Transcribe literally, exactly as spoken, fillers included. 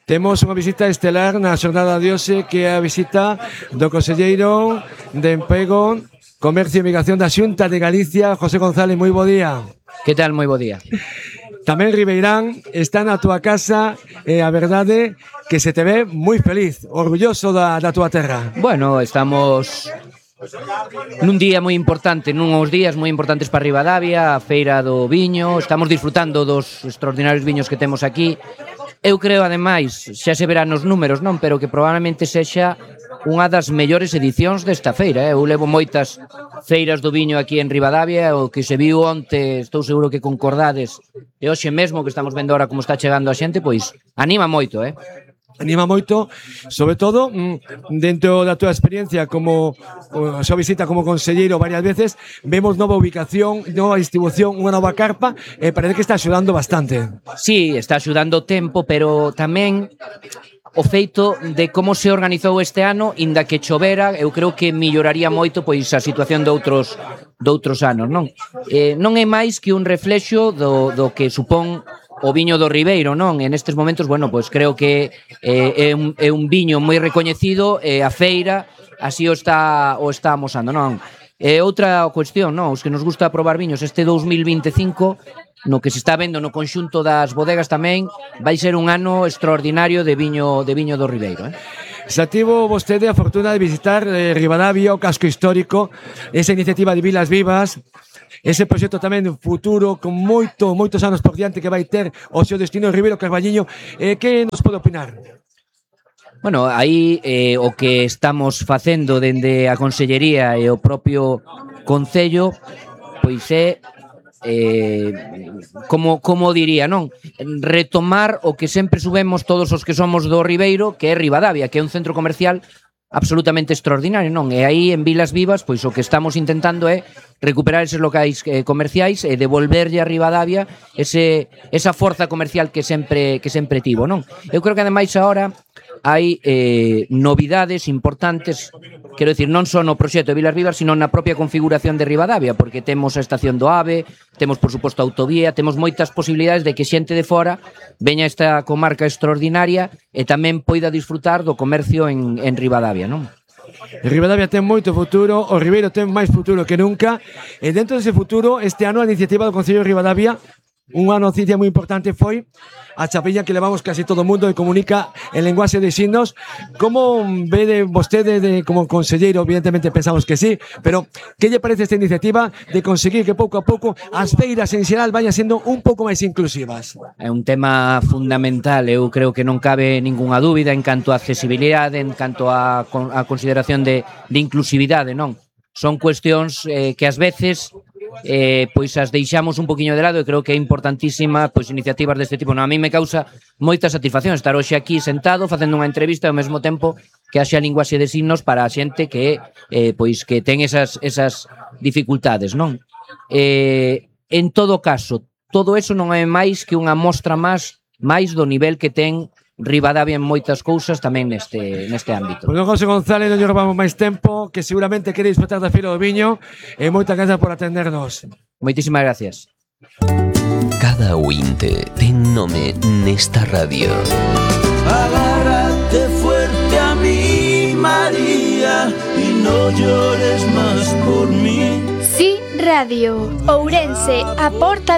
Temos unha visita estelar na xornada de hoxe, que é a visita do conselleiro de Emprego, Comercio e Migración da Xunta de Galicia, José González. Moi bo día. Que tal? Moi bo día. Tamén Ribeirán está na túa casa e a verdade que se te ve moi feliz, orgulloso da, da túa terra. Bueno, estamos nun día moi importante, nuns días moi importantes para Ribadavia, a Feira do Viño, estamos disfrutando dos extraordinarios viños que temos aquí. Eu creo, ademais, xa se verán nos números, non? Pero que probablemente sexa unha das mellores edicións desta feira. Eu levo moitas feiras do viño aquí en Ribadavia, o que se viu onte, estou seguro que concordades, e hoxe mesmo que estamos vendo ahora como está chegando a xente, pois anima moito, eh? Anima moito, sobre todo dentro da túa experiencia como a súa visita como conselleiro varias veces, vemos nova ubicación, nova distribución, unha nova carpa, e parece que está axudando bastante. Sí, está axudando o tempo, pero tamén o feito de como se organizou este ano, inda que chovera, eu creo que melloraría moito pois a situación de outros de outros anos, non? Eh, non é máis que un reflexo do, do que supón o viño do Ribeiro, non? En estes momentos, bueno, pois creo que eh, é, un, é un viño moi recoñecido e a feira así o está o está amosando, non? E outra cuestión, non? Os que nos gusta probar viños, este dous mil vinte e cinco, no que se está vendo no conxunto das bodegas tamén, vai ser un ano extraordinario de viño de viño do Ribeiro, eh? Xa tivo vostede a fortuna de visitar eh, Ribadavia, o casco histórico, esa iniciativa de Vilas Vivas, ese proxecto tamén futuro con moito, moitos anos por diante que vai ter o seu destino en Ribeiro Carballiño. Eh, que nos pode opinar? Bueno, aí eh, o que estamos facendo dende a Consellería e o propio Concello, pois é eh, como, como diría, non? Retomar o que sempre subemos todos os que somos do Ribeiro, que é Ribadavia, que é un centro comercial absolutamente extraordinario, non? E aí en Vilas Vivas, pois o que estamos intentando é recuperar eses locais eh, comerciais e devolverlle a Ribadavia ese, esa forza comercial que sempre que sempre tivo, non? Eu creo que ademais agora hai eh, novidades importantes, quero dicir, non só no proxecto de Vilas Vivas, sino na propia configuración de Ribadavia, porque temos a estación do AVE, temos, por suposto, a autovía, temos moitas posibilidades de que xente de fora veña a esta comarca extraordinaria e tamén poida disfrutar do comercio en, en Ribadavia, non? Ribadavia ten moito futuro, o Ribeiro ten máis futuro que nunca, e dentro dese futuro, este ano a iniciativa do Concello de Ribadavia, unha noticia moi importante foi a chapella que levamos casi todo o mundo e comunica en lenguaxe de signos. Como vede vostede de, como conselleiro? Evidentemente pensamos que sí, pero que lle parece esta iniciativa de conseguir que pouco a pouco as feiras en xeral vayan sendo un pouco máis inclusivas? É un tema fundamental, eu creo que non cabe ningunha dúbida en canto a accesibilidade, en canto a, a consideración de, de inclusividade, non? Son cuestións eh, que ás veces eh, pois as deixamos un poquinho de lado, e creo que é importantísima pois iniciativas deste tipo. Non, a mí me causa moita satisfacción estar hoxe aquí sentado facendo unha entrevista e ao mesmo tempo que haxa linguaxe de signos para a xente que eh, pois que ten esas, esas dificultades, non? Eh, en todo caso, todo eso non é máis que unha mostra máis máis do nivel que ten Ribadavia en moitas cousas tamén neste neste ámbito. Bueno, José González, non lle robamos máis tempo, que seguramente quere disfrutar da Feira do Viño, e moitas grazas por atendernos. Moitísimas gracias. Cada ointe ten nome nesta radio. Agárrate fuerte a mí, María, y no llores más por mí. Sí, Radio Ourense, a porta